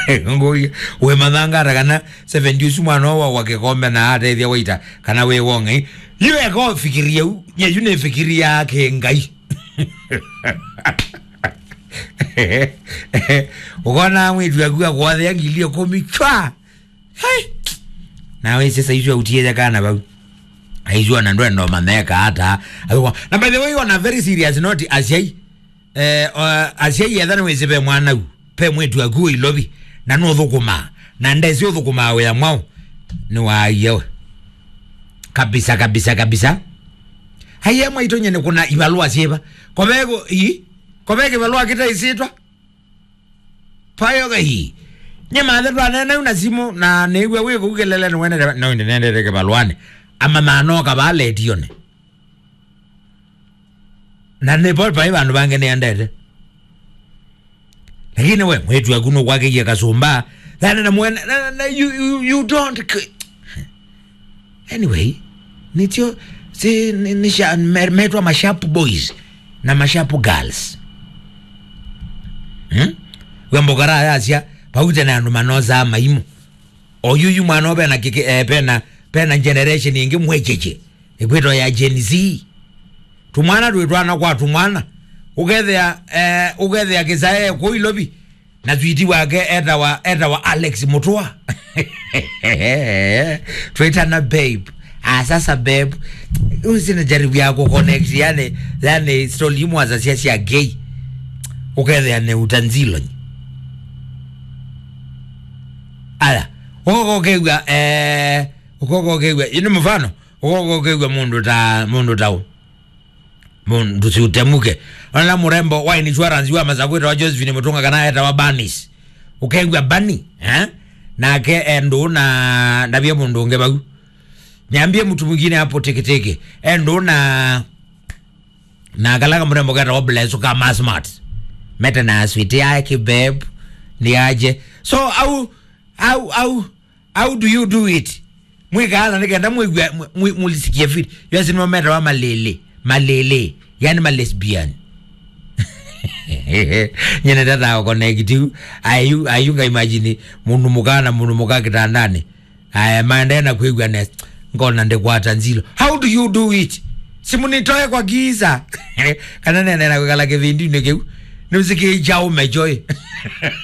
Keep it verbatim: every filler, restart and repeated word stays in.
Ngũi, we mathanga ata kana seventy ũsu mwana wa wa kĩkombe na atethia waita kana we wongai. Yu eko fikiria u, nye yu ne fikiria ke ngai. Ukona mwitu akua kwa the ngili kumi chwa. Hey! Na we sasa isu utie kana bau. Aizwa na ndwendo mameka hata. Na by the way, on a very serious note, asiai. Eh, uh, asiai etha nĩ wĩsĩ ve mwana u, ve mwĩtu aku wĩ ilovi, na nũthũkũmaa, na ndesi ũthũkũmaa wĩa mwaũ, nĩ waie we. Kabisa, kabisa, kabisa. Aiye mwaitũ nye nĩ kuna ivalũa syĩva. Koveko, i? Koveke ivalũa kĩtaisĩtwa? Payo gai. Nye mathe twanene na simu, na nĩw'a wĩ kũu kelele nĩwenete, no nĩnendete kĩvalũanĩ. Ama manoka va letione. Na nĩ vo vai vandũ vangĩ nĩendete. Lakini we, mwĩtu aku nũkwakĩie kasũmba. Thana na mwene, na, na, na, you, you, you don't c-, anyway, nĩtyo, si, nĩ, nĩ sha-, me-, metwa masharp boys na masharp girls. Hmm? We mbokara yasya, paute na andũ manosaa maimu. Oyuyu mwana ũvena kĩkĩ, eh, pena, pena generation ĩngĩ mwecheche. Ĩkwĩtwa ya Gen Z. Tumwana twĩ twana kwa tumwana. Ũkethĩa, eh, ũkethĩa kĩsae kũu Ilovi. Na switi wake etawa, etawa Alex Mutua. Twĩtana babe. Ah, sasa babe. Usi na jaribu ya kuconnect, yani, yani story imwe za sia sia gay. Ũkethĩa nĩ utanzilo. Aya. Ũkoko ũkew'a, eh, ũkoko ũkew'a. Ini mfano, ũkoko ũkew'a mũndũ ta, mũndũ ta ũ. Mũndũ si utemuke. Ona mũrembo wa insurance wa Masakwĩta wa Josephine Mutunga kana etawa Banis. Ũkew'a Bani, eh? Nake endũ na, ndavye mũndũ ũngĩ vau. Niambie mtu mwingine hapo Teketeke. Endũ na, na kala kamũrembo ketawa Bless ka ma smart. Mete na switi yake babe. Ni aje. So, au, au, au, how do you do it? Mwĩkaana nĩ kenda mwĩw'a, mũ-, mũ-, mũlisikie fit. Yu asi nĩmo metawa malĩlĩ. Malĩlĩ. Yani malesbian. Nyene tata wa connect u. Ayu, ayu nga imagine mũndũ mũka na mũndũ mũka kĩtandanĩ. Aya, maendee na kwĩw'a nesa. Ngona ndikwata nzilo. How do you do it? Simu nitoe kwa giza. Kana nene na kwĩkala kĩvindinĩ kĩu. Nĩũsikĩĩkya ũme joy.